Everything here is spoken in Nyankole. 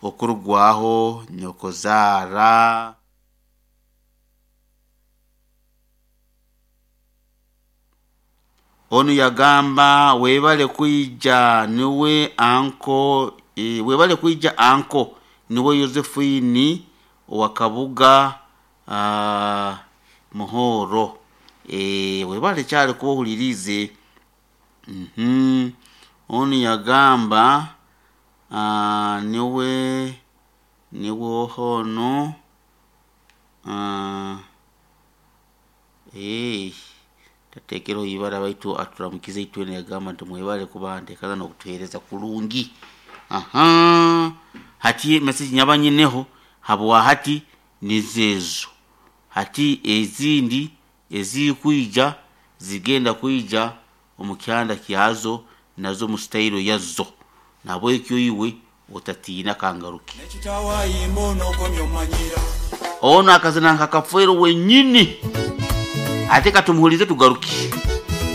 Okurugwaho nyokozaara. Onu yagamba webale kwija niwe anko e, webale kwija anko niwe Yosephine owa Kabuga uh, Muhoro e, webale kyali kuba ohuliriize mm -hmm. Onu yagamba uh, niwe niwe ohono uh, hey. Tateekereho ibara baitu aturamukize itwena yagamba nti mwebale kuba nteekaza n'okutuheereza kurungi. Aha hati message nyaba nyineho habwa hati nizeezo hati ezindi ezirikwija zigenda kwija omu kyanda kyazo nazo mu sitayiro yazo nahabwekyo iwe otatiina kangaruke. Ono akazina nka Kafeero wenyini ate katumuhulize tugaruke.